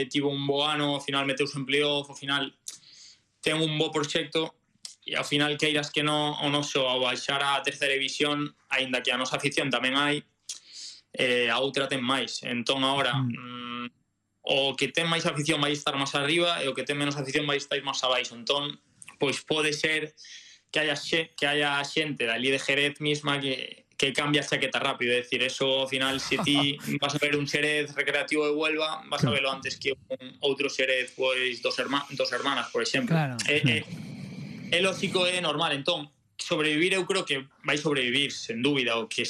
tivo un bo ano, ao final meteuse en playoff, ao final ten un bo proxecto, e ao final queiras que non, o noso ao baixar a terceira división, aínda que a nosa afición tamén hai, a outra ten máis. Entón agora o que ten máis afición vai estar máis arriba e o que ten menos afición vai estar máis abaixo. Entón, pois pode ser que haya xente dali de Jerez misma que cambia a chaqueta rápido. É dicir, eso ao final, se ti vas a ver un Xerez Recreativo de Huelva, vas a velo antes que un outro Xerez, pois, dos Hermanas, por exemplo. Claro. É lógico, é normal. Entón, sobrevivir eu creo que vai sobrevivir, sen dúbida. O que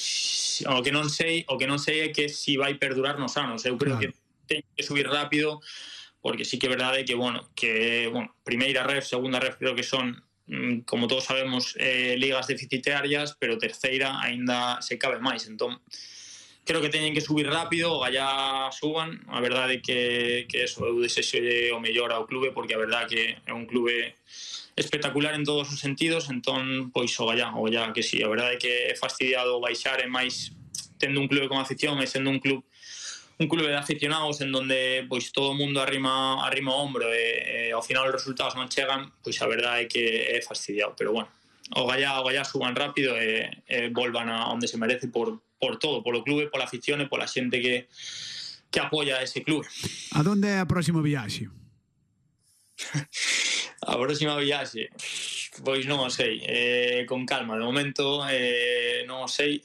non sei é que si vai perdurar nos anos. Eu creo que ten que subir rápido, porque sí que é verdade que, primeira ref, segunda ref, creo que son, como todos sabemos, ligas deficitarias, pero terceira aínda se cabe máis. Entón, creo que teñen que subir rápido, o gallá suban. A verdade que eso, eu desexo o mellor ao clube, porque a verdade que é un clube espectacular en todos os sentidos. Entón, pois o gallá que sí, a verdade que é fastidiado baixar, e máis tendo un clube con afición e sendo un clube de aficionados en donde pois todo o mundo arrima o hombro e ao final os resultados non chegan, pois a verdade é que é fastidiado. Pero bueno, o gallá suban rápido e volvan a onde se merece por todo, polo clube, pola afición e pola xente que apoia ese clube. A donde é a próxima viaxe? A próxima viaxe, pois non o sei, con calma, de momento non o sei.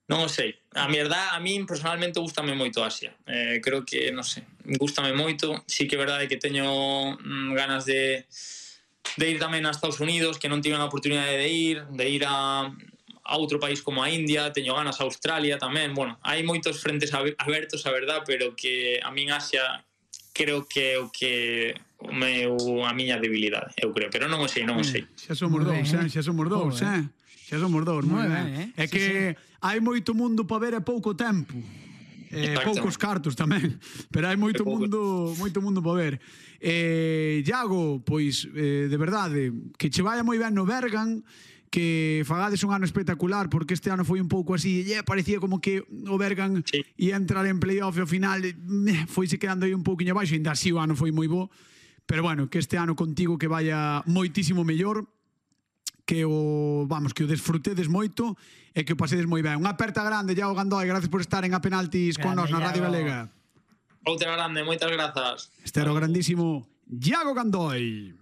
Non o sei. A min personalmente gustame moito Asia. Creo que, non sei, gustame moito. Sí que é verdade que teño ganas de ir tamén a Estados Unidos, que non tiven a oportunidade de ir a outro país como a India. Teño ganas a Australia tamén. Bueno, hai moitos frentes abertos, a verdad, pero que a min Asia creo que é o que a miña debilidade, eu creo, pero non o sei. Xa somos dous, Xa somos dous, moi ben. É que hai moito mundo para ver e pouco tempo. Poucos cartos tamén, pero hai moito mundo para ver. Iago, pois, de verdade, que che vaya moi ben no Bergan, que fagades un ano espectacular, porque este ano foi un pouco así, parecía como que o Bergan ia entrar en playoff e ao final foise quedando aí un pouquinho abaixo, ainda así o ano foi moi bo, pero bueno, que este ano contigo que vaya moitísimo mellor, que o desfrutedes moito e que o pasedes moi ben. Unha aperta grande, Iago Gandoi, gracias por estar en A Penaltis con nós na Radio Galega. Outra grande, moitas grazas. Este era o grandísimo Iago Gandoi.